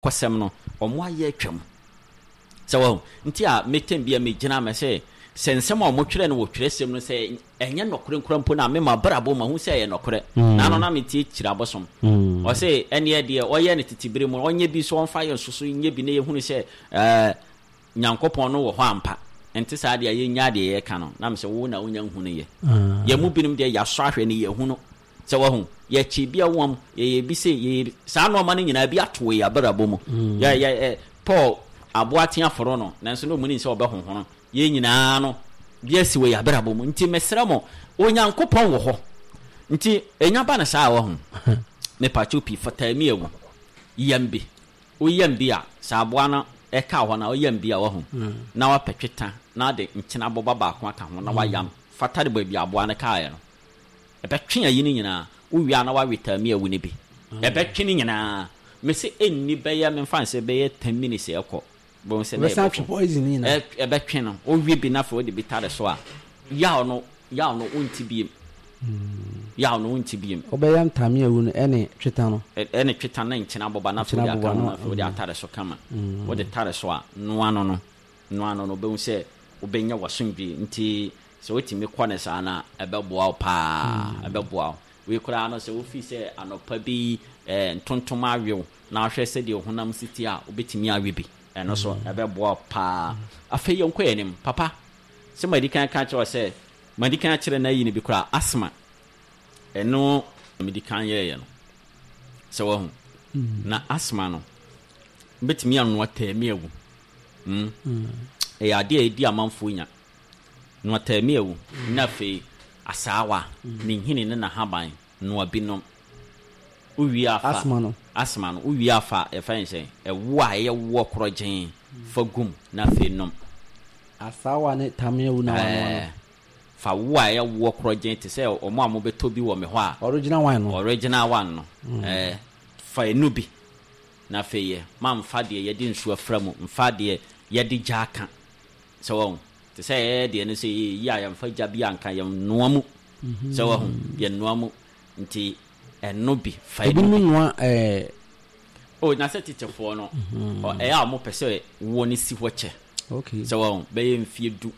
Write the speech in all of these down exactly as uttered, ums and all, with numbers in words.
Kɔsɛm no, ɔmo ayɛ atwam. Sɛ wɔn nti a metem bi a megyina mɛ sɛ sɛ nsɛm a ɔmo twerɛ no wɔ twerɛsɛm no sɛ ɛnyɛ nɔkorɛ nkora mpo no a, mema brabɔ ma hu sɛ ɛyɛ nɔkorɛ. Na ano na metie kyerɛ abosom. Ɔsɛ ɛneɛ deɛ ɔyɛ no tete bere mu, ɔnyɛ bi so, ɔmfa yɛ nso so nyɛ bi na yɛhunu sɛ ɛɛ Nyankopɔn no wɔ hɔ ampa. Nte saa deɛ a, yɛnya deɛ yɛka no na mesɛ wo na wonya nhu no yɛ. Yɛn mu binom deɛ, yɛasɔ ahwɛ no, yɛhu no. Sɛ wahu, yɛkye bi a wɔm, yɛyɛ bi se, yɛyɛ saa nneɛma no nyinaa bi ato yɛ abrabɔ mu. Yɛ yɛ ɛ Paul aboa tea foro no, nanso na ɔmu nim sɛ ɔbɛhohono. Yɛn nyinaa no bi asi wɔ yɛ abrabɔ mu. Nti mesrɛ mo, Onyankopɔn wɔ hɔ. Nti ɛnya ba no saa a, wahu. Mepakyɛw pii, fataa mi awu. Yam bi. Woyam bi a, sɛ aboa no ɛka hɔ na woyam bi a, wahu, na wapɛ tweta na ade nkyene aboba baako aka ho na wayam fata de baabi aboa no kaeɛ no. Ɛbɛtwe ayi no nyinaa. Wowie a na wawe taami awu no bi. Ɛbɛtwe no nyinaa. Mese ɛnni bɛyɛ, memfa no sɛ bɛyɛ ten minutes ɛkɔ. Wobɛhu sɛ na Ɛbɛsan atwe ɛbɛkɔ. poison no nyinaa. Ɛbɛtwe no. Wowie bi na afei wode bi tare so a, yaw no, yaw no wonte biem. Yaw no wonte biem. Wobɛyam taami awu no ɛne tweta no. Ɛne tweta ne nkyene aboba na afei Nkyene wode aka aboba ho no. Na afei wode atare so kama. Wode tare so a, noa no no. Noa no no, wobɛhu sɛ wobɛnya w'asomdwie. Nti sɛ wotumi kɔ no saa no a, ɛbɛboa wo paa. Ɛbɛboa wo. Wei koraa no, sɛ wofii sɛ anɔpa bi eh, ntontom awe wo na wohwɛ sɛdeɛ wo honam si te a, wobɛtumi awe bi. Ɛno so ɛbɛboa wo paa. Afei yɛnkɔ yɛn anim. Papa, sɛ madi kan ka kyerɛ wo sɛ, madi kan akyerɛ no ayi no bi koraa, asthma. Ɛno medi kan yɛeɛ no. Sɛ wahu. Na asthma no, wobɛtumi anoa taami awu. Mm. Ɛyɛ adeɛ a ɛdi amanfoɔ nya. Noa taami awu. Na afei asaawa, ne nhini ne n'ahaban, noa bi nom. Wowie afa Asthma no. Asthma no, wowie afa, yɛfrɛ no sɛ ɛwo a ɛyɛ woɔ korɔgyee, fa gum na afei nom. Asaawa ne taami awu na wanoa no. Ɛɛ, fa wo a ɛyɛ woɔ korɔgyee te sɛ ɔmo a mobɛtɔ bi wɔ me hɔ a. Original one no. Original one no. Ɛɛ, fa enu bi na afei yɛ mamfa deɛ yɛde nsuo afra mu, mfa deɛ yɛde gya aka. Sɛ wɔn te sɛ ɛyɛ deɛ no sɛ yɛyi a, yɛmfa gya bi anka, yɛnoa mu. Sɛ wɔn yɛnoa mu nti ɛno bi fa ɛnu Ebinom bi. Noa ɛɛ. O na sɛ tetefoɔ no, ɔ ɛyɛ a wɔn pɛ sɛ woɔ no si hɔ kyɛ. Okay. Sɛ wɔn bɛyɛ mfie du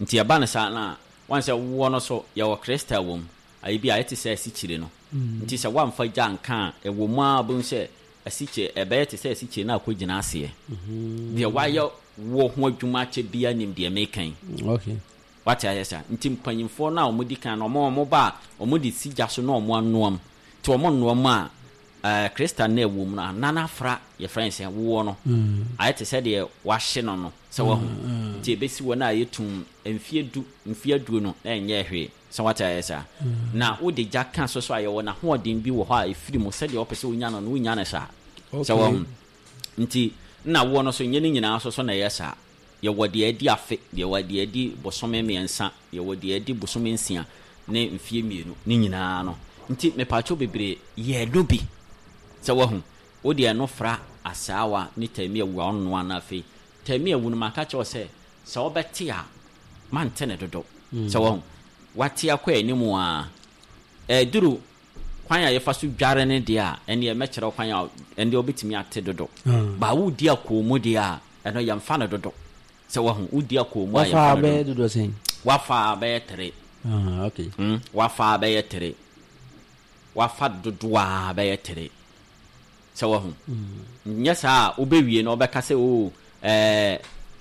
nti ɛba no saa na wɔn sɛ woɔ no so yɛwɔ crystal wɔ mu ayi bi a ɛte sɛ asikyire no. Nti sɛ wɔamfa gya nka a, ɛwɔ mu a, wobɛhu sɛ asikyire ɛbɛyɛ te sɛ asikyire no akɔ gyina aseɛ. Deɛ wayɛ wɔ ho adwuma akyɛ bia nim deɛ meka yi. Okay. Wate ayɛ saa nti mpanyinfoɔ no a wɔn di kan no, wɔn wɔn ba a, wɔn de si gya so na wɔn anoam. Nti wɔn noam a, ɛɛ crystal no a ɛwɔ mu no anan afra, yɛfrɛ no sɛ woɔ no ayɛ te sɛ deɛ wahye no no. Sɛ wahu, nti ebesi hɔ no a, yɛtum mfie du, mfie aduonu na ɛnyɛ hwee. Sɛ wate ayɛ saa na wode gya ka so so a, yɛwɔ n'ahoɔden bi wɔ hɔ a ɛfiri mu sɛdeɛ wɔpɛ sɛ wonya no no, wonya no saa. Sɛ wahu, nti na woɔ no so nyɛ ne nyinaa so so na ɛyɛ saa. Yɛwɔ deɛ adi afe, yɛwɔ deɛ adi bosome mmiɛnsa, yɛwɔ deɛ adi bosome nsia ne mfie mmienu ne nyinaa no. Nti mepatwo bebree, yɛ no bi. Sɛ wahu, wode ɛno fra asaawa ne taami awu a ɔnoa no, afei taami awu no, maka kyerɛ wo sɛ sɛ wobɛte a, mante ne dodo. Sɛ wahu, wate akɔ anim a, ɛduru kwan a yɛfa so dware ne deɛ a, ɛneɛ mɛkyerɛ wo kwan a ɛndeɛ wobɛtumi ate dodo. Ba wodi akɔɔ mu deɛ a, ɛno yɛmfa no dodo. Sɛ wahu, wodi akɔɔ mu a, Wafa yɛmfa no bɛyɛ dodo. Dodoɔ sɛn? Wafa bɛyɛ tere. Ah, okay. mm, wafa bɛyɛ tere, wafa dodoɔ a bɛyɛ tere. Sɛ wahu, nyɛ saa a, wobɛwie no wobɛka sɛ o ɛɛ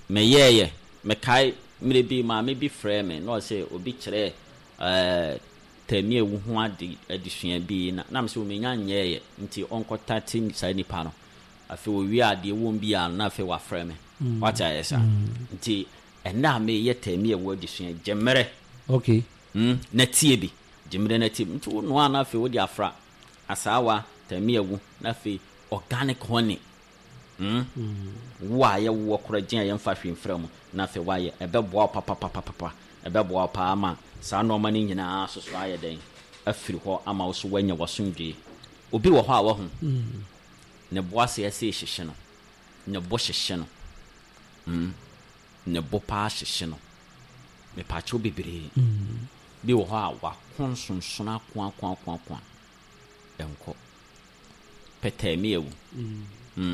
meyɛɛyɛ. Mekae mmerɛ bi maame bi frɛ me na ɔsɛ obi kyerɛ ɛɛ tɛmi ewu ho ade adesua bi na nam sɛ omenya nyɛɛyɛ, nti ɔnkɔtate saa nipa no. Afei owie adeɛ wɔm bi a, na afei wafrɛ me. Wate ayɛ saa nti ɛnna a meyɛ tɛmi ewu adesua, gye mmerɛ Okay. mm, na tie bi, gye mmerɛ na tie bi. Nti wo noa na afei wode afra asaawa, tɛmi ewu, na afei organic honey, mm? Wo a yɛwoɔ korɔ gye a yɛmfa hwee mfra mu, na afei woayɛ, ɛbɛboa wo papapapapa. Ɛbɛboa wo paa ama saa nneɛma no nyinaa soso ayɛ dɛn afiri hɔ ama wo so woanya w'asomdwee. Obi wɔ hɔ a wahu ne bo ase ɛsɛ hyehye no, ne bo hyehye no, mm. ne bo paa hyehye no. Mepaakyɛw bebree, bi wɔ hɔ a wako nsonsono ako ako ako ako a ɛnkɔ pɛtɛɛ mi awu.